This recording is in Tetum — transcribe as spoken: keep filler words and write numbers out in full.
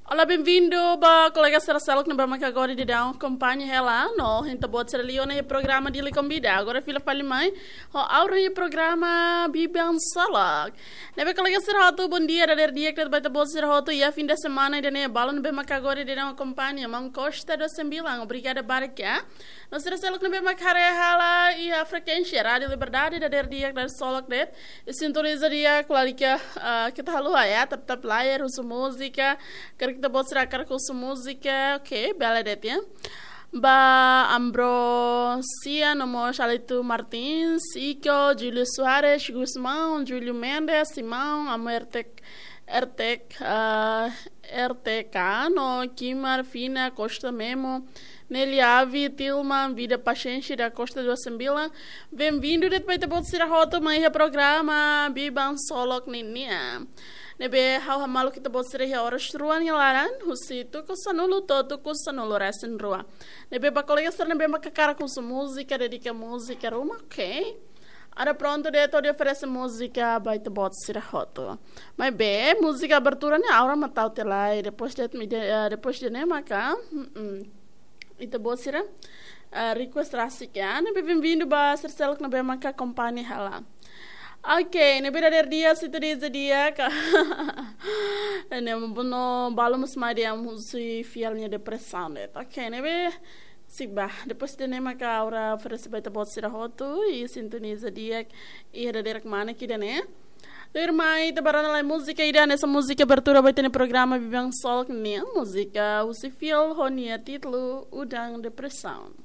Olá, bem-vindo ba kolega sira seluk ne'ebé maka agora daudaun akompaña hela no ita-boot sira liu ona iha programa Dili Konvida. Agora fila fali mai ho Aura iha programa Biban Solok. Ne'ebé kolega sira hotu, bondia dadeer di'ak ba ita-boot sira hotu iha fim de semana ida-ne'e. Balun ne'ebé maka agora daudaun akompaña, maun Costa dos Sembilan, obrigada barak. No sira seluk ne'ebé maka haree hela iha frekuénsia Rádio Liberdade, dadeer di'ak, dadeer solok de'it. I sintoniza di'ak, lalika, ah, ita haluha, ya, tap-tap layar, husu múzika, karik ita-boot sira hakarak husu múzika, oke, bele de'it, ya. Ba Ambrosia, no mós Alito Martins, Iko, Júlio Soares, Gusmão, Júlio Mendes, Simão, Amo Ertek, Ertek, ah, R T K, no Kimar, Fina, Costa Memo, Nelly Avi, Tilman, Vida Paciência da Costa dos Sembilan. Bem-vindo de'it ba ita-boot sira hotu mai iha programa Biban Solok ninian. Ne'ebé ha'u hamaluk ita-boot sira iha oras rua nia laran, husi tuku sanulu to'o tuku sanulu resin rua. Ne'ebé ba kolega sira ne'ebé maka hakarak husu múzika, dedika múzika ruma, oke. Atu prontu de'it hodi oferese múzika ba ita-boot sira hotu. Maibé múzika abertura ne'e Aura mak tau tiha lai, depois de'it, eh, depois ida-ne'e maka, mm, ita-boot sira, eh, request rasik, ya. Ne'ebé bem-vindo ba sira seluk ne'ebé maka akompaña hela. Oke, ne'ebé dadeer di'ak, sintoniza di'ak. Ne'e, no balun mós mai dehan husi fiel nia depresaun de'it. Oke, ne'ebé si'ik ba. Depois ida-ne'e maka Aura oferese ba ita-boot sira hotu, i sintoniza di'ak, i dadeer kemana ki ida-ne'e. Tuirmai ita bá rona lai múzika ida, hanesan múzika abertura ba ita-nia programa Biban Solok ninian, múzika husi fiel ho nia títulu Udang Depresaun.